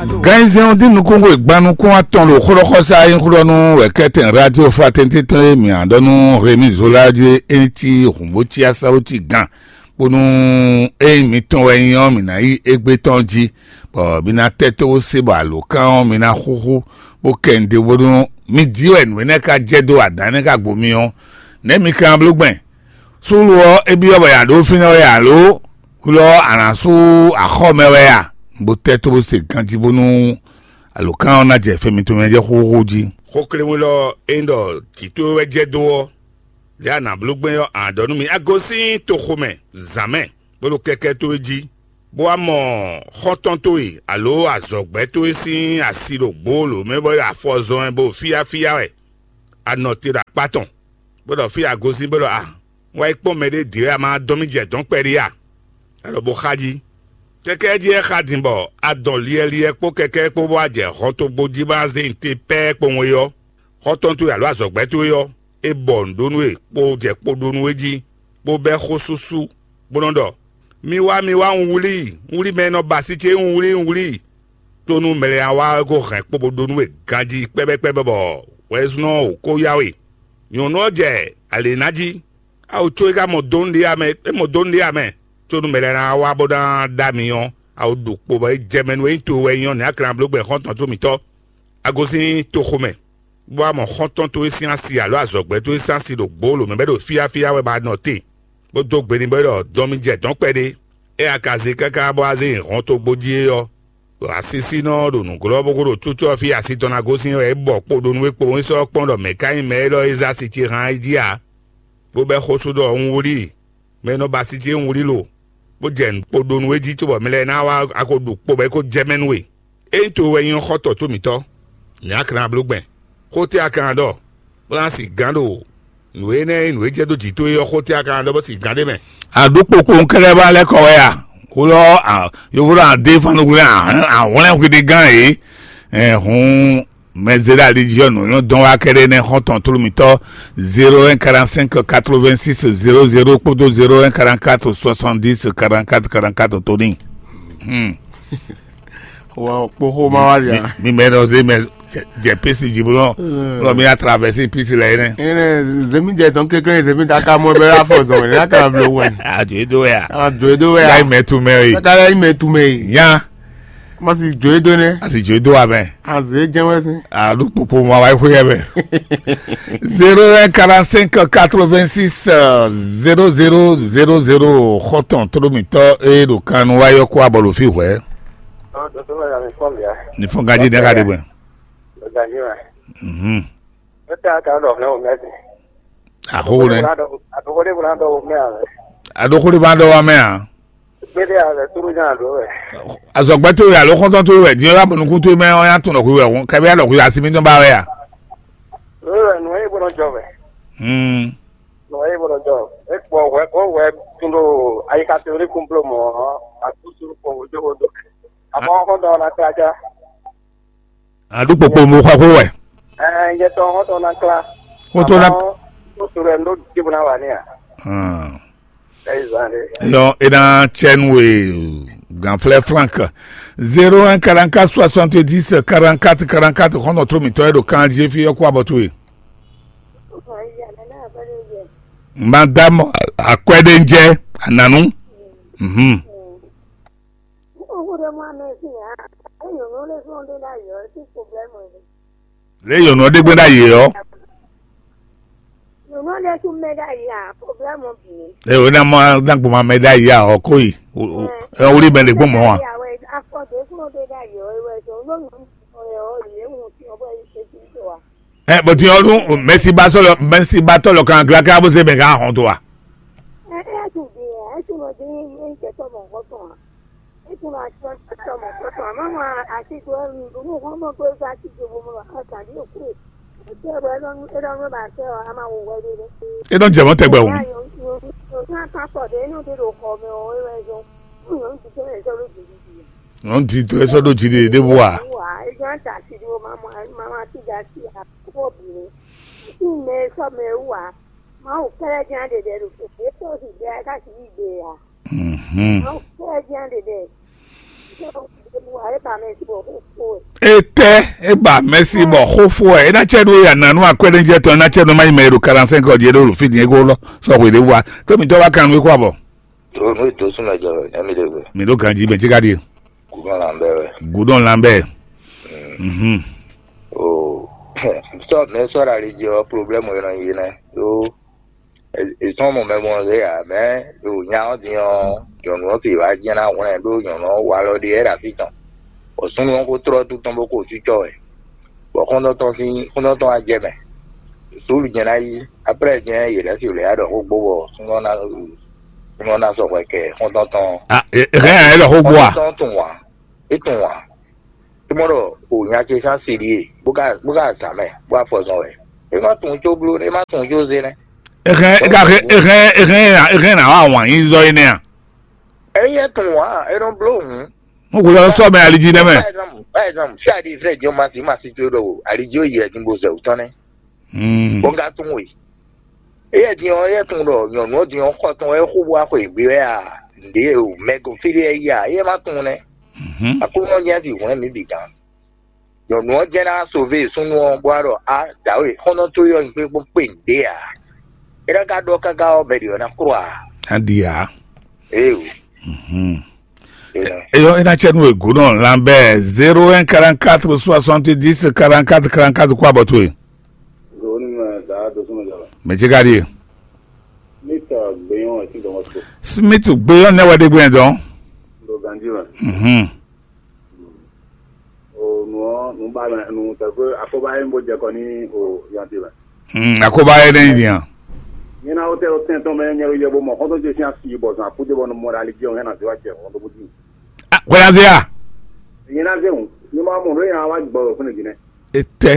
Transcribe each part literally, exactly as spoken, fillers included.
Ganyizɛn ɔ́ dín nukúnxwe gban nukún atɔn ɖo xlɔ́xɔsá e nyí xlɔ́nú wɛ̌kɛ́tɛn radio fraternité tɔn e mǐ ǎ ɖɔ nú Rémi Zola jí é cí hǔnbócí asáwócí gán, bónú ényí mitɔn wɛ nyí ɔ́, mǐ ná yí égbé tɔn jí, bɔ mi ná tɛ́ tó bó se bɔ alǒkan ɔ́ mi ná xúxú, bó kɛ nǔɖé bónú mi jí wɛ nǔ énɛ́ ka jɛ dó adǎn énɛ́ ka gbo mi ɔ́, nɛ̌ mi ka ná bló gbɛn? Súlu ɔ́, é byɔ́ bɔ yě ɖó fínɛ́ wɛ a lǒ? Hwilɔ ɔ́, a nǎ sú axɔ́ mɛ wɛ a? Bó tɛ́ tó bó se ganjí bónú alǒkan ɔ́ ná jɛ fɛn mitɔn mɛ jɛ xóxó jí. Xókléwún élɔ́ e nyí ɖɔ jǐ towe wɛ jɛ dó ɔ́, lě a nǎ bló gbɛn ɔ́, a nǎ ɖɔ nú mì: a gosín toxo mɛ zǎn mɛ, bó ɖo kɛkɛ́ towe jí, bó wá mɔ xɔ́ntɔn towe alo azɔ̌gbɛ́ towe sín asi ɖo gbǒlǒ mɛ bɔ é ɖo afɔ zɔn wɛ bó fíyáfíyá wɛ. A nɔ te ɖo akpá tɔn, bó ɖɔ fí a gosín bó ɖɔ a, un wá yi kpɔ́n mɛɖé dǐ wɛ a ma dɔn mì jɛ dɔ̌n kpɛɖé a? A ɖɔ bó xá jí. Kɛkɛ́ jí é xa din bɔ a dɔn liɛliɛ kpó kɛkɛ́ kpó bó wá jɛ hɔntogbó jí bó ná zé nyi te pɛ́ɛ kpowun é ɔ́, xɔ́ntɔn towe alo azɔ̌gbɛ́ towe ɔ́, é bɔ nǔ ɖó nú we kpó jɛ kpo ɖó nú we jí, bó bɛ́ xó súsú, bó nɔ́ ɖɔ: mi wá, mi wá, un wlí i, un wlí mɛ e nɔ ba asi ce, un wlí i, un wlí i. Tó nú mɛ lɛ́ɛ ná wá wɛ ko hɛn kpo bó ɖó nú we ganjí kpɛ́bɛ́kpɛ́bɛ́ bɔ wɛzúnɔ ɔ́ wǒ kó yá we. Nyɔ̌nu ɔ́ jɛ alě ná jí, awu có é ka mɔ dó nǔɖé ǎ mɛ, é mɔ dó nǔɖé ǎ mɛ. Có nú mɛ lɛ́ɛ ná wá bó ná ɖó ami ɔ́, awu ɖu kpo bɔ é jɛ mɛ nú é nyí towe wɛ é nyí ɔ́, nɛ̌ a ka ná bló gbɛn xɔ́ntɔn tó mǐtɔn? A gosín toxo mɛ, bó wá mɔ xɔ́ntɔn towe sín asi alo azɔ̌gbɛ́ towe sín asi ɖo gbǒlǒ mɛ bɔ é ɖo fíyáfíyá wɛ bɔ a nɔ te, bó dó gbe n'i bɔ é ɖɔ: dɔn mi jɛ dɔ̌n kpɛɖé. Ée a ka zé káká bó wá zé nyi hɔntogbó jí é ɔ́, ɖo asisínɔ ɔ́ ɖo nǔglɔ́ bó ko ɖo túcɔ́ fí asi tɔn ná gosín wɛ é bɔ kpo ɖó nú é kpowun é sɔ́ kpɔ́n ɖɔ mɛ̌ ka nyí mɛ élɔ́ e zé asi ce hán é jí ǎ, bó bɛ́ xó sú ɖɔ: un wlí i, mɛ e nɔ ba asi ce un wlí lo, bó jɛ nǔ kpo ɖó nú é jí cóbɔ mɛ lɛ́ɛ ná wá a ko ɖu kpo bɔ é ko jɛ mɛ nú we. Ényí towe wɛ nyí xɔ́ntɔn tó mǐtɔn, nɛ̌ a ka ná bló gbɛn? Xó tɛ́ a ka ná ɖɔ, bó ná si gǎn ɖo nǔ énɛ́ e nǔ e jɛ dó jǐ towe ɔ́ xó tɛ́ a ka ná ɖɔ bó si gǎn ɖ'é mɛ? Aɖúkpokpo kɛ́ɖɛ́ ba lɛ́ kɔ wɛ a? Wlɔ yovo ɖɔ adé fanugulɛ ahwlɛ́n hwiɖigán e hǔn mɛzéɖali jí ɔ́ nǔ nyɔ́ dɔn wá kɛ́ɖɛ́ nɛ́ xɔ́ntɔn tlóló mitɔ́ zéro un quarante cinq quatre vingt six zéro zéro kpódó zéro un quarante quatre soixante dix quarante quatre quarante quatre tó ní. Wɔ kpoxo ma wá lia. Mi mɛ nɔ zé mɛ jɛ pisi jí bó nɔ bó nɔ mi atravɛsi pisi lɛ yɛ nɛ. Ene zemi jɛ tɔn kékeré zemi ta ka mɔ bɛ afɔ zɔn ne ka blo wɛ. Adzo edo wɛ a. Adzo edo wɛ a. Láì mɛ tu mɛ yi. Kaka láì mɛ tu mɛ yi. Nya. Ma si dzo edo nɛ. A si dzo edo wa mɛ. Aze jɛ wɛ si. Aɖu kpokpo ma wa xwe yɛ mɛ. Zéro un quarante cinq quatre vingt six zéro zéro zéro zéro xɔtɔn tlómitɔ eye ɖo kan nu wá yɔ kó abɔ ɖo fi hwɛ. Ní fún ganjí ní ká dé gbɛn. Mhm. Axóxó nɛ. Aɖóxó ɖé bá ɖɔ wá mɛ a? Azɔgbɛ tó yà ló xɔntɔn tó wɛ diɛ wá bɔnukun tó mɛ ɔn yà tún lɔkùn wɛ kɛbí yà lɔkùn yà sí mi tún bá wɛ a? Hmm. Nɔ eye bɔlɔ jɔ ekpɔ hwɛ ko hwɛ tun ɖo ayika teori kun blo mɔ atusu kpɔnwó jowo do. Afɔ xɔntɔn na kla ja. Aɖu kpokpo mo xɔ xó wɛ. Ɛɛ yɛ tɔ xɔntɔn na kla. Xɔntɔn na. Ko soro ɛ ndo jibu na wa ni a. Hmm. Ɛyi zan de. Yɔ ena tsɛnu e ganflɛ frank zéro un quarante quatre soixante dix quarante quatre quarante quatre xɔntɔn tó mitɔ e ɖo kan jí fi yɔ kó abɔ tó e. Madame Akwɛdenjɛ Ananu. Mhm. Lé yɔnɔ ɖe gbé ɖ'ayǐ ɔ. Ɛ wò ná mɔ ná gbɔn ma mɛ ɖ'ayǐ a ɔ kó yi. Ɛ wò ɖi mɛ ɖe gbɔn mɔ wa. Ɛ bɔn tiɲɛ ɔdún mɛsibatɔ lɔ mɛsibatɔ lɔ kan gla ká bó se mɛ ká hɔn tó wa. E nɔ jɛ mɔ tɛgbɛ o. Nɔ di to esɔ ɖo dzi ɖe ɖe bu wa. Mhm. Etɛ e ba mɛsi bɔ xó fó ɛ, e ná cɛ ɖó ya nanu akwɛɖéjɛ tɔn, e ná cɛ ɖó mayi mɛ e ɖo quarante-cinq ɔ́ jí e ɖo fí din e ko lɔ sɔ xwe ɖé wa. Tó mi tɔ wa kan nú e kó abɔ. Tó nú ètò súnmọ́ jọ ẹ mi lè wẹ̀. Mi ɖó ganjí bɛ jíga ɖie. Gúdọ̀ là ń bẹ̀ wẹ̀. Gúdọ̀ là ń bẹ̀. Mhm. O sọ mẹ sọ̀rọ̀ àlejò problème yẹn nọ yìí nẹ. Tó È sɔ́ mɔ mɛ gbɔn zé ǎ, mɛ̌ ɖo nya ɔ́ din ɔ́, nyɔ̌nu ɔ́ fi wǎ jɛ́n ná hwlɛ́n ɖó nyɔ̌nu ɔ́ wa alɔ ɖe wɛ ɖo afí tɔn, bɔ súnnu ɔ́ ko tlɔ́ tún tɔn bó ko cícɔ́ wɛ, bɔ xɔ́ntɔn tɔn sín xɔ́ntɔn tɔn wá jɛ mɛ. Súlu jɛ́n ná yí, áprɛ́ jɛ́n yě lɛ́ fi wlɛ̌ ɖɔ xó gbó bɔ súnnu ɔ́ ná súnnu ɔ́ ná sɔxɔ kɛ xɔ́ntɔn tɔn. Ah, e- e hɛn ɛ lɔ xó gbó a? Xɔ́ntɔn tɔn tunwun ǎ, é tunwun ǎ. É mɔ ɖɔ o nya ce sín asi ɖíe, bó ka bó ka zǎn mɛ, bó afɔ zɔn wɛ. É ma tunwun có bló, é ma tunwun có zé nɛ́. Ehɛn ega he ehɛn ehɛn ehɛn na ehɛn na wa wàn yín zɔ énɛ́ a? Ényí é tunwun ǎ, é nɔ bló hǔn. Mo kò lọ sọ mɛ aliji nɛ mɛ. Par exemple, par exemple, si a ɖi vrɛ jɔ ma si ma si tó ɖo aliji ó yɛ din bo zɛ wǔ tɔn nɛ́. Hmm. Bó ka tunwun we. Éyɛ́ din ɔ́, éyɛ́ tunwun ɖɔ nyɔ̌nu ɔ́ din ɔ́ xɔ tɔn wɛ é xo bó wá xweyǐgbe wɛ a? Nǔɖé o, mɛ ko fí ɖé wɛ yí a? Éyɛ́ ma tunwun nɛ́. Mhm. Aklúnɔ nyɛ fi hwlɛ́n mǐ bǐ gán. Nyɔ̌nu ɔ́ jɛ́n ná sove súnnu ɔ́, bó wá ɖɔ á dǎwe xɔ́ntɔn towe ɔ́ nyí kpé kpé nǔɖé ǎ. É ná ka ɖɔ káká ɔ́, mɛ ɖě ɔ́ ná kplɔ́ ǎ. Á ɖi ǎ. Éeǒ. Mhm. Énɛ́. Eyɔ é ná cɛ nú wegǒ nɔ lanbɛ zéro un quarante-quatre soixante-dix quarante-quatre quarante-quatre kó abɔ towe. Zoni mɛ da dosúnɔ jɔ. Mɛ ce ka ɖie? Mita gbeyɔn ɛ ti dɔn wɔ so. Smith gbeyɔn nɛ wɛ ɖe gbeyɔn dɔn. Ndo ganji mɛ. Mhm. O nù ɔ nù ba mɛ nù tɛgbɛ akɔba yɛ ń bó jɛ kɔ ní o yanti mɛ. Hmm, akɔba yɛ ɖe nya. Nyɛ na wotɛ o tɛn tɔn mɛ nyɛ yɛ bó mɔ xɔtɔ jɛ sín asi bɔ zan kúdé bɔ nɔ mɔ ɖe ali jɛ o hɛn na zé wa jɛ xɔtɔ bó dzi. Kwɛlazia. Nyɛ na zé o nyɛ ma mɔ ɖo yɛ wa gbɔ o fúnɛ jìnnɛ. Etɛ.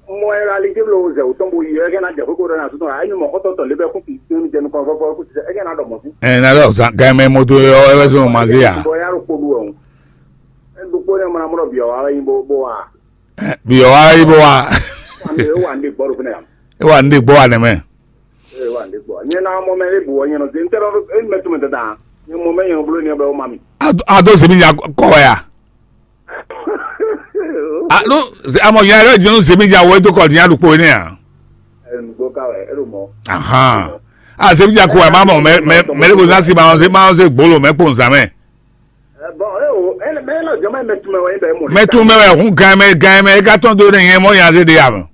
Mɔ ɛ ali jɛ blo zɛ o tɔn bo yi ɛ kɛ na jɛ kókó ɖɔ na sutɔ ayi mɔ xɔtɔ tɔ lébɛ kó fi tún jɛ nukɔn fɔfɔ kó ti ɛ kɛ na dɔ mɔ sí. Ɛ na dɔ zan gan mɛ moto yɔ ɛ bɛ sɔn ma zé ya. Bɔ ya ɖo kpó ɖu ɛ o. Ɛ ɖo kpó ne mɔ na mɔ ɖɔ biɔ wa wɛ nyi bó bó wa. Ɛ, biɔ wa yi bó wa. Wande wande gbɔ ɖo fúnɛ ya. E wa nɖe gbɔ wa nɛ mɛ. Ee wande gbɔ nyɛ na mɔ mɛ e bu wɔ nyɛ nɔ se n tɛ ɖɔ e mɛ tún mɛ tɛ dan nyɛ mɔ mɛ nyɛ nɔ blo nyɛ bɛ o ma mi. A do zemi nya kɔ wɛ ya? Alo amɔ nya yɛrɛ jɛnu zemi nya wɛ do kɔ nya ɖokpo ne ya? Ɛ nugbo ka wɛ e ɖo mɔ. Ahan. A zemi nya ko wɛ ma mɔ mɛ mɛ mɛ ɖe ko zan si ma ɔn se ma ɔn se gbolo mɛ kpo nzan mɛ. Ɛ bɔn e o e mɛ e lɔ jɔn mɛ mɛ tún mɛ wɛ e bɛ mɔ. Mɛ tún mɛ wɛ hun gan mɛ gan mɛ e ka tɔn do ne nyɛ mɔ nya se de ya mɛ.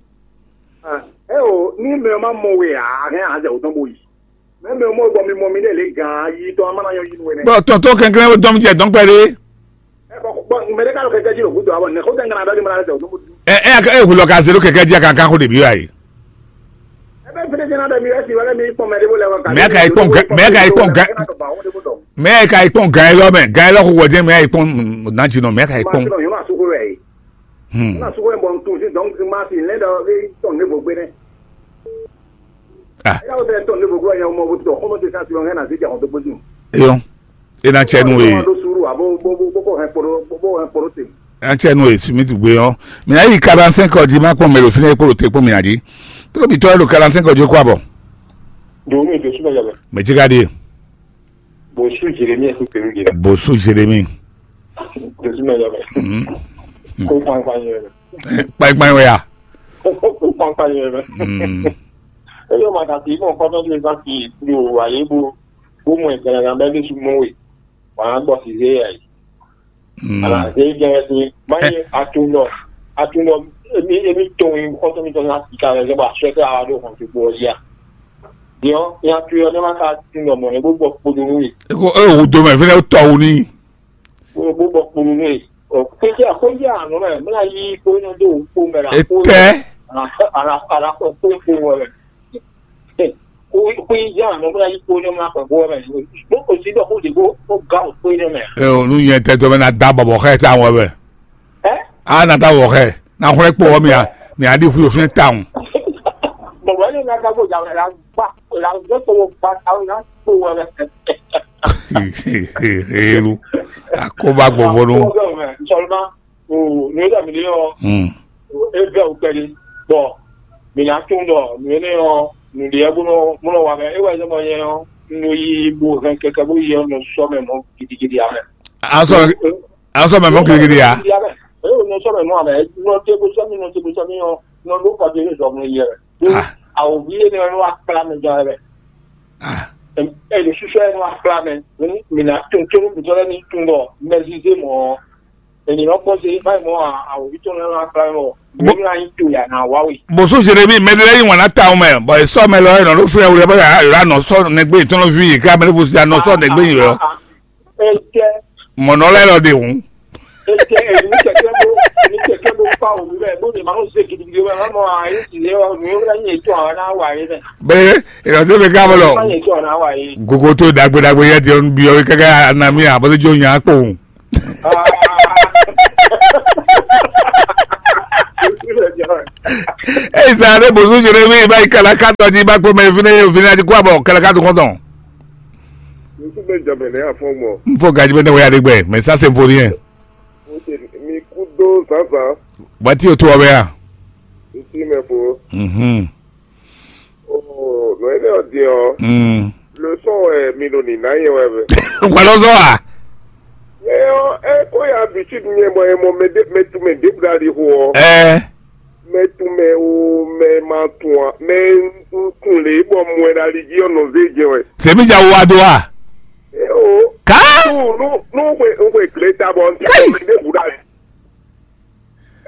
Ɛ o ní mɛ ɔ́ má mɔ we ǎ, a hɛn a zɛ wǒ tɔn bó yi. Mɛ mɛ ɔ́ mɔ bɔ mi mɔ mi ɖe lě gǎn yi tɔn a má ná nyɔ́ yi nú we nɛ́. Bɔ tɔn tó kɛnklɛ́n ó dɔn jɛ dɔn kpɛɖé. Ɛ bɔ bɔ mɛ ɖé ká lɔ kɛkɛ jí ɖo gǔdo a bɔ nɛ̌ xó tɛn gán aɖɔ́ ní mɔ ná zɛ wǒ tɔn bó dún. Ɛ ɛ ɛ wulɔ ka zé ɖó kɛkɛ jí a ka ká xó ɖě byɔ́ a yi. Ɛ bɛ fídé jɛ́n ná bɛ mi wɛ si wɛ mi kpɔn mɛ ɖé bó lɛ wɛ ka. Mɛ ka yi kpɔn gɛ mɛ ka yi kpɔn gɛ mɛ ka yi kpɔn gɛ lɔ mɛ gɛ lɔ xó wɔ jɛ mɛ ka yi kpɔn nà jì nɔ mɛ ka yi kpɔn. Yóò máa sókó rẹ̀ yìí. Hmm. Máa sókó rẹ̀ bọ̀ ntun sí dɔn máa fi lẹ́dọ̀ rí tɔ̀n ní gbogbo rẹ̀. Ah. Ẹ yà wò sẹ tɔ̀n ní gbogbo rẹ̀ yẹn ọmọ wò tọ̀ kọ́mọ ti sá sí ọ̀hún ẹ̀ nà sí jà ọ̀dọ́ gbójú. Eyɔn, e na cɛ nu ye. Bó suru a bó bó bó bó kó hɛn kporo bó bó hɛn kporo te. E na cɛ nu ye simi tu gbe yɔn. Mɛ ayi quarante-cinq ɔdi ma kpɔn mɛ lo fi ne kpolo te kpɔn mi adi. Tolo bi tɔ lo quarante-cinq ɔdi ko abɔ. Dòwú mi dòsú bɛ yàgbẹ́. Mɛ jika di. Bòsú Jérémie ẹ̀ kú pẹ̀lú yẹn. Bòsú Jérémie. Dòsú bɛ yàgbẹ́. Mhm. Kó pàápàá yẹn. Kpáyíkpáyí wɛ ya. Kó pàápàá yẹn. Mm. Eye ma ta ti mɔ kɔtɔ ti sa ti do ayi bo bo mɔ ìgbàlagà bɛ ní sumɔ we wà á gbɔ si zé yà yi. Mm. Ala zé jẹ ti ma ye atunɔ atunɔ emi emi tó yi kɔtɔ mi tɔ na ti ka lɛ zɛ ba sɛ kɛ awa do hɔn ti gbɔ ya. Diɔ ya tu yɔ ne ma ka tunɔ mɔ ne bo gbɔ kpodo nu yi. Eko e wo do mɛ fɛnɛ tɔ wo ni. Bó bó bɔ kponu nɛ. Ɔ kpéjá kpéjá àná mɛ mɛ la yí kpónú dó kpó mɛ la kpó. Etɛ. Ala ala ala kpó kpó kpó wɛ mɛ. Kpéjá àná mɛ la yí kpónú mɛ la kpó wɛ mɛ. Bó kò sí dɔ kó di kó kó ga o kpé nɛ mɛ. Ɛ o nu yẹn tɛ tɔ bɛ na da bɔbɔ xɛ ta ŋɔ bɛ. Ɛ. A na da bɔbɔ xɛ na xlɛ kpó wɔ mi a mi a di hu o fi ta ŋu. Bɔbɔ ne na ka ko ja wɛ la gba la gbɛ kpó wɔ gba ta na kpó wɔ mɛ. Elu. Akoba gbɔvɔnu. Seulement, o ne da mi ɔ. Hmm. E bɛ o kpɛli. Bon, mi na tún dɔ mi ne ɔ nu de ɛ bó nɔ bó nɔ wa mɛ e wɛ ne mɔ nyɛ ɔ nu yi bo hɛn kɛkɛ bó yi ɔ nɔ sɔ mɛ mɔ gidigidi amɛ. Asɔ. Aw sɔ mɛ mɔ gidigidi ya. Eye wònɔ sɔ mɛ mɔ amɛ, nɔ te ko sɔ mi, nɔ te ko sɔ mi ɔ, nɔ ɖo kɔ te ne zɔ mɛ yɛ. Ah. Awo vi ene wɛ nɔ wa kpla mɛ jɔ wɛ. Ah. Ɛ, ɛ, le susɔ yɛ nɔ wa kpla mɛ. Mi na tun tso mi tɔ lɛ ni tun bɔ mɛ zize mɔ. Ènìyàn kpɔ́n ṣe báyìí mọ́ àwọn òbí tó ń rán apá mọ́. Bó- Èmi náà ń tò yà náà wá wè. Bó sún Jérémie mɛ ɖé lɛ́ɛ yí wǎn ná ta mɛ, bɔ è sɔ́ mɛ lɔ ɛ nɔ ɖó fúnɛ wlɛ bɔ yà nɔ sɔ́ nɛgbé yìí ká mɛ ní fusí anɔ sɔ́ nɛgbé yìí lɔ. Ẹ jẹ́ Mɔ̌ nɔ lɛ́ɛ lɔ ɖe hǔn. Ẹ jẹ́ èmi kẹ̀kẹ́ bó èmi kẹ̀kẹ́ bó fa òun bẹ́ẹ̀ bó lè máa ń ṣe gidigidi wẹ́ wọ́n mọ àyè sì lé wọn mi ó lẹ́yìn ètò àwọn náà wà yín bẹ́ẹ̀. Bẹ́ẹ̀ ìrọ̀tí mi ká bọ̀ lọ. Lẹ́yìn ètò àwọn náà wà yín. Gogo tó dàgbédàgbé yẹ ti ń bi ọ kẹ́kẹ́ anamí àbọ̀tẹ́jọ́ yàn á pò hùn. Ei, sa ɖe bozú Jeremi ba yi kala katɔ ji ba kpɔmɛ fine fine adi kó abɔ kala katɔ kɔntɔn. Ŋutsu bɛ jɔ mɛ nɛ afɔ mɔ. N fo gaji bɛ ne wɛ adi gbɛ mɛ sa se fo ni yɛ. Mi kú dó zǎnzǎn. Bati o to ɔbɛ ya. Ntí mɛ fo. Mhm. Oh, nɔ énɛ́ ɔ́ din ɔ́, Mm. Leçon wɛ mi ɖo nǐ ná nyɛ wɛ vɛ. Wɛlɔzɔ a? Ɛ ɔ́, ɛ kó ya bǐ cí nyɛ bɔ è mɔ mɛ ɖé mɛ tu mɛ ɖěbǔ ɖo ali xo ɔ́. Ɛ. Mɛ tu mɛ o mɛ ma tun a mɛ un kun lě bɔ mɔ ɛ ɖo ali jí ɔ́ nɔ zé jɛ wɛ. Sèmi ja wo wa do a? Ɛ o. Ká. Nu nu nu xwe xwe gle ta bɔ n tɛ Kai. Mɛ ɖěbǔ ɖo ali.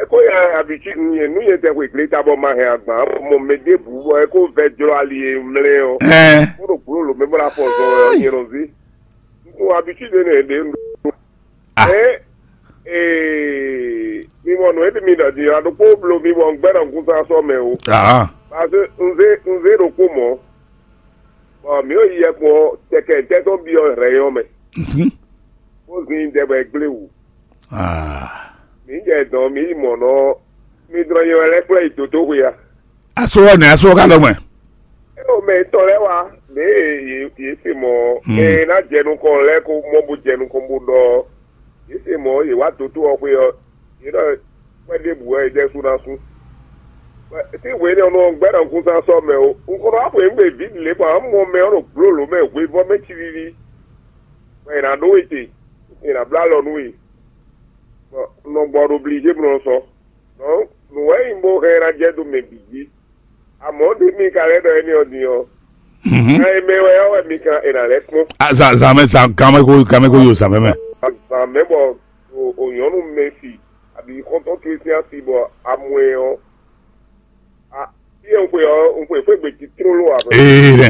Eko ya abici nú yɛ nú yɛ tɛ xwe gleta bɔ ma hɛn agban mɔ mɛ ɖěbǔ bɔ eko vɛ jlɔ ali e mlɛ ɔ. Ɛɛ. Kó ɖo gblo lo mɛ bɔ la fɔ zɔ ɔ nyɛ nɔ zé. Nú abici ɖe nɛ ɖe nɔ. Ah. Ɛ ee mi mɔ nɔ ebe mi ɖɔ di ɔ ɖokpó blo mi bɔ gbɛ nɔ gúnsá sɔ mɛ o. Ah. Parce que nzé nzé ɖokpó mɔ bɔ mi yɔ yi yɛ kpɔ tɛkɛ tɛtɔ bi ɔ rɛ yɔ mɛ. Mhm. Bó zin dɛ bɔ ɛ gblé wú. Ah. Mǐ jɛ dɔn mǐ yi mɔ̌ nɔ mí dlɔ́n nyɛ wɛ lɛ́ kplɔ́ yi dǒdóxwe a? Asó ɔ́ nɛ̌ asó ɔ́ ka ɖɔ mɛ? É o mɛ tɔn lɛ́ɛ wá mɛ yě yě se mɔ̌ Mm. Mɛ e ná jɛ nukɔn lɛ́ɛ ko mɔ bó jɛ nukɔn bó ɖɔ yě se mɔ̌ yě wá dǒdó ɔ́ xwé ɔ́ yě ɖɔ kwɛ́ ɖěbǔ wɛ é jɛ sú ná sú. Tí hwe énɛ́ ɔ́ nɔ gbɛ́ ɖɔ kúnsan sɔ́ mɛ o, un ko nɔ wá xweyǐgbe vǐ lě bɔ ǎ mɔ mɛ ɔ́ ɖo gblǒlǒ mɛ hwevɔ́ mɛ cilílí, bɔ è nǎ ɖó we te, è nǎ bló alɔ nú we. Bɔ un nɔ gbɔ ɖo blí jé bló sɔ. Donc nǔ wɛ nyí bó hɛn ná jɛ dó mɛ bǐ jí. Amɔ̌ ɖé mi ka lɛ́ ɖɔ énɛ́ ɔ́ din ɔ́, Mhm. Nya e mɛ wɛ ɔ́ wɛ mi kan è nǎ lɛ́ kpɔ́n. Ah, zan zan mɛ zan gan mɛ ko gan mɛ ko yo zan mɛ mɛ. Azǎn mɛ bɔ o o nyɔ̌nu mɛ si abǐ xɔ́ntɔn towe sín asi bɔ amɔ ɛ ɔ́, a fí e un xwe ɔ́ un xwe xwé gbe jí tlóló ǎ. Ee nɛ.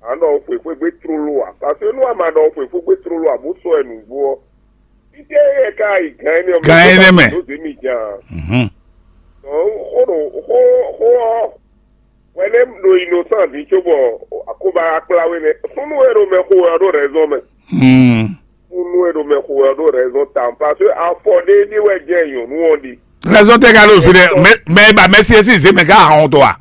À ń ɖɔ un xwe xwé gbe tlóló ǎ, parce que nú a ma ɖɔ un xwe xwé gbe tlóló ǎ bó sɔ́ ɛ nǔgbó ɔ́, fítɛ́ yɛ ká yi gan énɛ́ ɔ́ Gan énɛ́ mɛ. Dó zě mi jan. Mhm. Dɔn xó ɖo xó xó ɔ́ hwɛ nɛ́ ɖo innocent dín cóbɔ akóba kplá we nɛ́. Súnnu e ɖo mɛ xo wɛ ɔ́ ɖo rɛzɔn mɛ. Hmm. Súnnu e ɖo mɛ xo wɛ ɔ́ ɖo rɛzɔn tawun, parce que afɔ ɖé ní wɛ jɛ nyɔ̌nu ɔ́ ɖe. Rɛzɔn tɛ ka ɖo fi ɖe mɛ mɛ ba mɛsi esi zé mɛ ká ahɔn to a?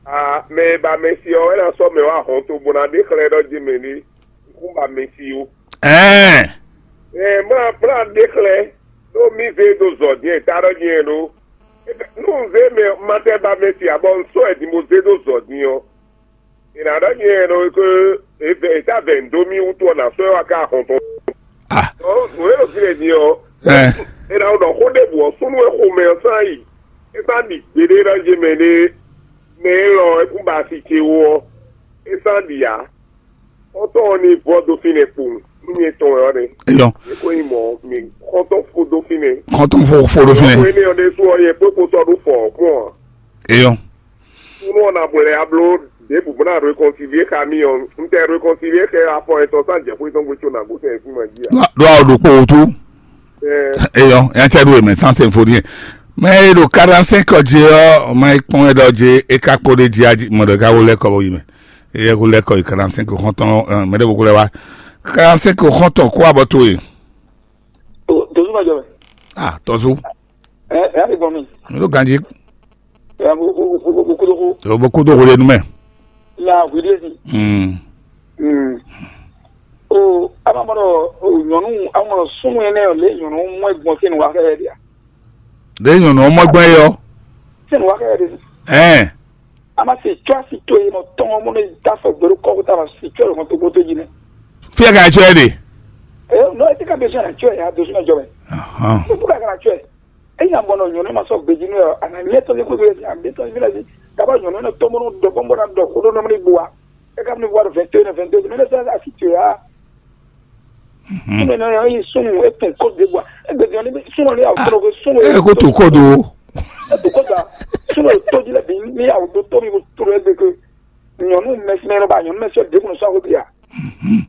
Ah, mɛ e ba mɛsi ɔ́, é ná sɔ́ mɛ wá hɔn to bó ná ɖe xlɛ́ ɖɔ jí mɛ ní kún ba mɛsi ó. Ɛɛ. Ɛ mlá mlá ɖe xlɛ́ ɖó mí zé ɖo zɔ dín e ta ɖɔ nyɛ ɖó. Nú un zé mɛ ma tɛ ba mɛsi ǎ bɔ un sɔ́ ɛ din bó zé ɖó zɔ dín ɔ́, è nǎ ɖɔ nyɛ ɖɔ é tá vɛ dó mì wútu ɔ́, nǎ sɔ́ ɛ wá ká ahɔn tɔn. Ah. Ɔ́, nǔ e ɖo fínɛ́ din ɔ́, Ɛ. È nǎ ɖɔ xó ɖěbǔ ɔ́, súnnu e xomɛ ɔ́ sán yi, é sán ɖi gbeɖé ɖɔ yé mɛ ɖé, mɛ élɔ́ é kún ba asi ce wú ɔ́, é sán ɖi ǎ. Xɔ́ntɔn ɔ́ ní vɔ́ dó fínɛ́ kpowun, nú nyɛ tɔn wɛ ɔ́ nɛ́. Eyɔn. É ko nyí mɔ̌, mi xɔ́ntɔn fó dó fínɛ́. Xɔ́ntɔn fó fó dó fínɛ́. Xó énɛ́ ɔ́ ɖésú ɔ́, nyɛ kpó kpo sɔ́ ɖó fɔ ɔ́ kpɔ́n ǎ. Eyɔn. Súnnu ɔ́ ná blɛ́ abló ɖěbǔ bó ná rékɔnsivié xá mì ɔ́, un tɛ rékɔnsivié xɛ afɔ etɔn sín ajɛ̌xwé tɔn gbe có nǎ gosɛn sín ma jí ǎ. Ɖó ɖó awo ɖokpó wútu. Ɛ, Eyɔn, yá cɛ ɖó emɛ sans symphonie. Mɛ e ɖo quarante cinq ɔ́ jí ɔ́, ma yi kpɔ́n wɛ ɖɔ jí é ka kpo ɖé jí ají mɔ ɖɔ é ka wó lɛ́ kɔ bó yi mɛ. É yɛ kó lɛ́ kɔ yi quarante cinq xɔ́ntɔn, ɛ, mɛ ɖěvo kó lɛ́ wá. Quarante cinq xɔ́ntɔn kó abɔ towe. Tòzú ma jɔ mɛ. Ah, tɔzu. Ɛ ɛ ti gbɔn mi. Mi ɖo ganji. Ɛ bo bo bo bo bo kodo ko. O bo kodo ko ɖe nu mɛ. La wi ɖe si. Hmm. Hmm. O ama mɔ ɖɔ o nyɔnu ama mɔ ɖɔ sunnu yẹn nɛ o le nyɔnu mɔ gbɔn sin wa kɛ dia. Ɖe nyɔnu mɔ gbɔn yɔ. Sin wa kɛ de. Ɛn. Ama si tsɔ asi to yen nɔ tɔn mɔ ne da fɔ gbɛɖo kɔ ko ta ma si tsɔ lɔmɔ to gbɔto dzi nɛ. Fia ka tsɔ yɛ de. Ɛ, nɔ ete ka bɛ sɔn atsɔ ya do sɔn jɔ mɛ. Ahan. Ko ka kana tsɔ. E nya bɔ nɔ nyɔnu ma sɔ gbeji nɔ a na nyɛ tɔ ko be a be tɔ bi la bi. Ka ba nyɔnu na tɔ mo do bɔ na do ko do na mi bua. E ka mi bua do vingt et un, vingt et deux, mais ça a si tu ya. Mhm. Sunu na ya yi sunu e tun ko de bua. E be ni sunu ni a tro ko sunu. E ko to ko do. E to ko da. Sunu e to di la bi ni a do to mi ko tro e be ko. Nyɔnu mɛsɛn lɔ ba nyɔnu mɛsɛn de ko so ko bia. Mhm.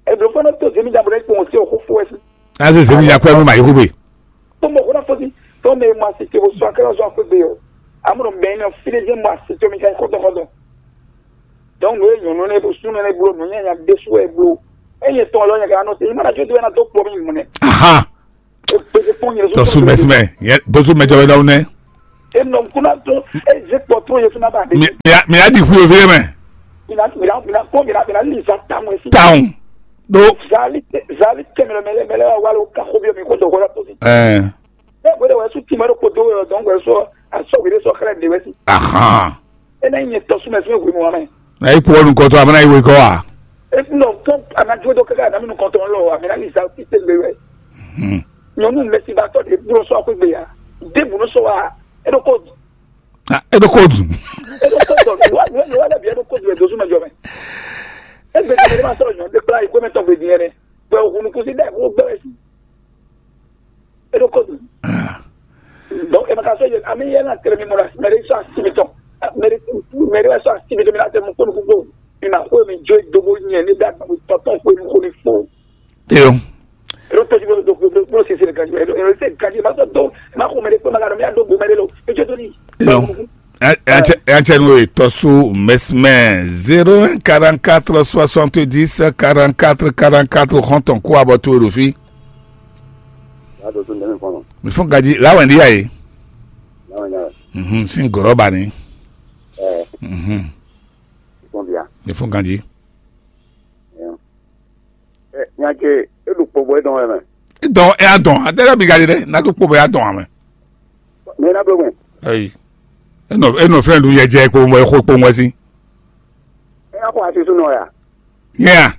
Eblo fana to zemi da bro ko se o ko fo esi. Aze zemi ya kwɛ mi ma yi ko be. To mo ko na fo si. To me ma se ke o so akela so ko be yo. Amro be na fide je ma se to mi ka ko to ko to. Donc no e nyɔnu ne bo sunu ne blo no nya nya de su e blo. E ye to lo nya ka no se. Imana jo do na to po mi mo ne. Aha. Tɔsu mɛsimɛ, bósú mɛjɔ wɛ ɖɔhun nɛ. Enɔ kuna tó eze kpɔ tó yɛ fúnabà de. Mi a di xwi òfin mɛ. Mina mina mina kpɔn mina mina li za tamɔ esi. Tawun. Do. Zali zali tɛmɛ mɛlɛ mɛlɛ wa wale ka xo bi mi ko dɔ ko la to si. Ɛɛ. Ne gbede wɛ su tìmɛ ɖo kpo do wɛ dɔn wɛ sɔ asɔ wele sɔ xlɛ de wɛ si. Ahan. Ena yi nyɛ tɔsu mɛ fún ehwe mɔ amɛ. Na yi kpɔ nukɔntɔ amɛ na yi wekɔ wa. Enɔ fún anadwo dɔ kaka anami nukɔntɔ lɔ amɛ na yi sa tite gbe wɛ. Hmm. Nyɔnu mɛsibatɔ de blo sɔ akwe gbe ya. De bunu sɔ wa. Eɖo ko. Ah, eɖo ko du. Eɖo ko dɔ wa wa wa bi eɖo ko du edo suma jɔ mɛ. Egbe de ma sɔrɔ nyɔ de kpla yi ko mɛ tɔ gbe diɛ ne. Bɛ o hunu kusi dɛ o gbɛ wɛ si. Eɖo ko du. Ah. Donc e ma ka sɔ yɛ ami yɛ na tere mi mɔ la mɛ de sɔ asi mi tɔn. Mɛ de mɛ de sɔ asi mi tɔn mi na tɛ mu ko nu ko. Mi ma ko mi jo do bo nyɛ ni da tɔtɔ ko nu ko ni fo. Eyo. Ero tɔjú bolo do bolo bolo sisi le gaji ero ero se gaji ma sɔ do ma ko mɛ de ko ma ka do mi a do bo mɛ de lo e jo do ni. Eyo. Ɛntsɛ nu ye tɔsu mɛsmɛ zéro un quarante-quatre soixante-dix quarante-quatre quarante-quatre xɔntɔn kó abɔ to ɖo fí. Yàtọ̀ tó nẹ́mí fọ́nà. Mi fún gaji láwọn ìdíyà yìí. Láwọn ìdíyà. Mhm, sin gɔrɔ ba ni. Ẹ. Mhm. Fún bia. Mi fún gaji. Nya ce e ɖo kpɔbɔ e dɔn wɛ mɛ. Dɔn e a dɔn a tɛ ka bi ka di dɛ na to kpɔbɔ e a dɔn a mɛ. Mɛ na blo mɛ. Eyi. Enɔ enɔ fɛn ɖu yɛ jɛ kpowun wɛ xo kpowun wɛ si. E ya xɔ asisu nɔ ya. Yɛ a.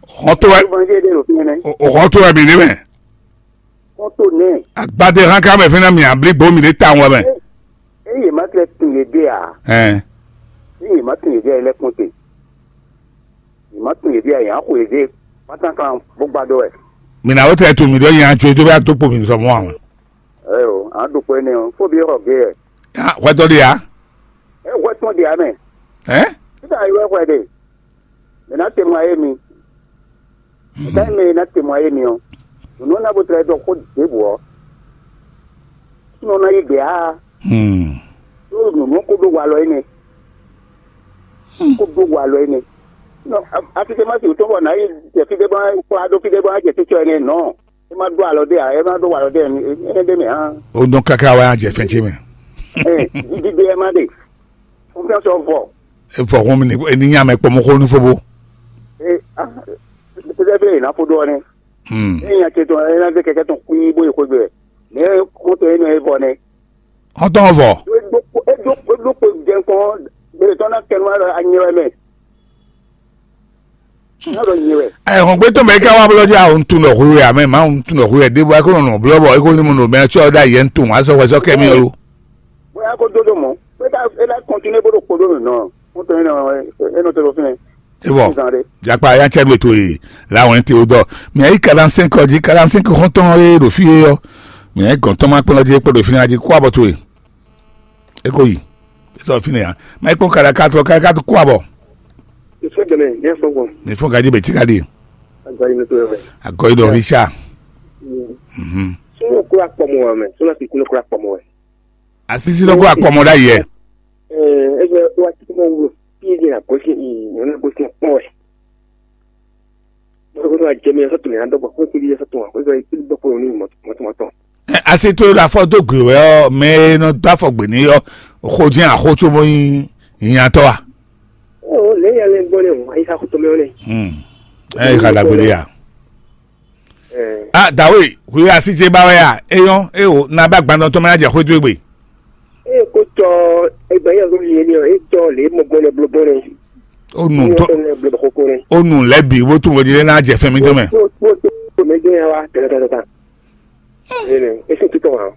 Xɔ to wɛ. Evangelho ɖo fi nɛ. O xɔ to wɛ bi ne mɛ. Kɔ́ntɔn nɛɛ. Agbadé hán ká mɛ fínɛ́ mì ablígbó mì ɖé tawun wɛ mɛ. Eye ma tlɛ tun yě ɖe a? Ɛn. Eye ma tun yě ɖe a, yě lɛ́ kpɔ́n te. Yě ma tun yě ɖe a, yě á xo yě ɖe kpátánklan bó gbá dó wɛ. Mì nǎ wó tlɛ tun mì ɖɔ yě á jó dó bá dó kpo mì zɔ mɔ àwọn. Ɛyɔ, a ɖo xwe nɛ ɔ, fó bi xɔ gé yɛ. Hwɛtɔ ɖe ya? Ɛ hwɛ tɔn ɖe ya mɛ. Ɛ? Títà yɛ wɛ hwɛ ɖe. Mɛ ná te mɔ ayé mi. Mɛ ná te mɔ ayé mi ɔ. Nunu ɔ́ ná bo tlɛ dɔ xó ɖěbǔ ɔ́. Súnɔ ná yí gbě á. Hmm. Ɖó nunu ɔ́ kó ɖó walɔ énɛ́. Kó ɖó walɔ énɛ́. Nɔ afitɛmasi wǔtɔn bɔ nǎ yi jɛ fí ɖé bɔ kplá ɖó fí ɖé bɔ jɛ títɔ énɛ́ nɔ. É má ɖó alɔ ɖé ǎ, é má ɖó walɔ ɖé ǎ, é ɖé mɛ hã. Ó nɔ káká wá jɛ fɛn ce mɛ. Ɛ dídí ɖé ɛ má ɖe. Confiance ɔ́ vɔ. Evɔ hun mi ni ni nya mɛ kpɔmɔ xó nu fo bo. Ee ah peut-être il a faut donner. Hmm. Ee nya ce tɔn ee na de kɛkɛ tɔn kui bo ye xogbe. Mais ko to eno e vɔ ne. Xɔtɔn vɔ. E do e do e do ko jɛn ko be tɔn na kɛnɛ wa a nyɛ wɛ mɛ. Na do nyɛ wɛ. Ɛ hɔn gbé tɔn bɛ ká wá blɔ dza o ntun dɔ hu ya mɛ ma ntun dɔ hu ya de bɔ ko nɔ blɔ bɔ ko ni mo no bɛ tsɔ da yɛ ntun wa sɔ wɛ sɔ kɛ mi lo. Bóyá kó dó dó mɔ̌, é ká é ná kɔntínúé bó ɖo kpo ɖó nǔ nɔ, wọ́n tɔ énɛ́ ɔ́, é nɔ te ɖo fínɛ́. É bɔ Sísan ɖé. Jakpa ya cɛ ɖo ètò yìí làwọn ẹ̀ ń tè ó dọ̀. Mì ayé quarante-cinq jí quarante-cinq xɔntɔn é ɖo fí é ɔ́. Mì ayé gɔ̌ntɔn má kplɔ́n jí é kpó ɖo fínɛ́ jí kó abɔ towe. É kó yi. É sɔ fínɛ́ ya. Má é kpɔ́n kàɖà kátó kàɖà kátó kó abɔ. Ìfẹ́ gbẹ̀mẹ̀ ní ẹ̀fọ́ gbọ̀n. Mì fún gàdí bẹ̀ tí gàdí. Àgbáyé mi tó yẹ wẹ̀. Àgọ́ ìdọ̀ fi ṣá. Mhm. Sọ́nà kúrò àpọ̀mọ́ wa mẹ́, sọ́nà kìkì ló kúrò àpọ̀mọ́ wẹ̀. Asisi lɔ kó akpɔmɔ ɖ'ayǐ ɛ. Ɛɛ, ebe wa ti mɔ wlo. Fi ye na gosi i nyɔnu gosi kpɔn wɛ. Mo ko ma jɛ mi sɔ tun ya dɔ bɔ ko ti di sɔ tun ko ko ti dɔ ko ni mɔ mɔ tun mɔ tɔn. Ɛ, asi to ɖo afɔ do gbe wɛ ɔ mɛ e nɔ do afɔ gbe ni ɔ xo jɛ axo tso mo nyi nyatɔ wa. Ɔ lɛ ya lɛ gbɔ ne wa yi sa ko to mɛ ne. Hmm. Ɛ yi xa dagbe de ya. A dawe hu asi ce ba wɛ a eyɔn ewo na ba gbandɔ tɔn mɛ na jɛ xwedó egbe. Eye kó tɔ egbe yɛ ló yé ni ɔ, é tɔ lě mɔ gbɔn lɛ bló gbɔn lɛ. Ó nu tó, ó nu lɛ́ bǐ bó tunwun vodí lé ná jɛ fɛn mì dó mɛ. Bó tó mɛ jẹ́ yẹn wá tẹ̀lé tẹ̀lé tán. Ene, esi títọ̀ wá.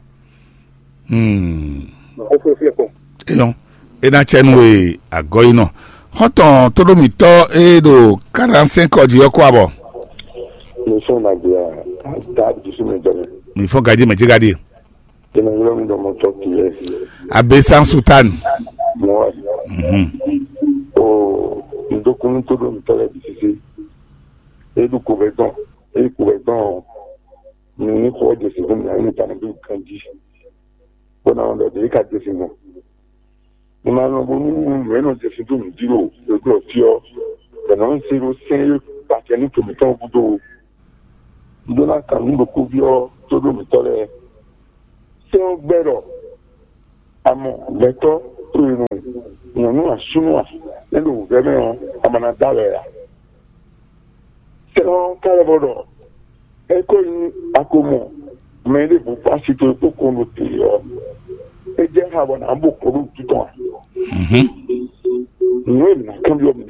Hmm. Ó fún fún ẹ̀kọ́. Eyɔn, é ná tsɛ nú e agɔ yi nɔ. Xɔtɔn tóɖómítɔ e ɖo quarante-cinq kɔ jí ɔ́ kó abɔ. Ní fún nàgbé a, ká dusú mi jọ mi. Mi fɔ gají mɛ jí gají. Tɛnɛ yɔrɔ mi dɔmɔ tɔ kì í. Abe san sutan. Mɔ. Mhm. O, ndokunu tóɖómítɔ lɛ bi sisi. E ɖu ko bɛ tɔn. E ko bɛ tɔn. Mi ní xɔ jɛ sixú mi, mi ta ní bí kan jí. Bó ná wọn ɖɔ ɖě ka jɛ sin gbɔn. Mi ma nɔ bónú nǔ e nɔ jɛ sin dó nǔ jí ɖo gbɛgbɛ fí ɔ́, bɛ̌ nɔ ń se ɖó sɛ́n e kpacɛ ní tòmítɔn gúdo. Un ɖó ná kan nǔ ɖokpó byɔ́ tóɖómítɔ́ lɛ́ɛ. Sɛ́n ɔ́ gbɛ́ ɖɔ a mɔ gbɛtɔ́ to e nɔ nyɔ̌nu asúnú a é ɖo wǔvɛ́ mɛ ɔ́, a ma ná dó alɔ ɛ ǎ. Sɛ́n ɔ́ ka lɛ́ vɔ ɖɔ é ko nyí a ko mɔ mɛ e ɖěbǔ kpó asi towe kpó kɔn ɖo te ɔ́, é jɛ xá bɔ nǎ bo kɔ ɖó wútu tɔn ǎ. Nǔ e mǐ ná kanbyɔ́ mǐ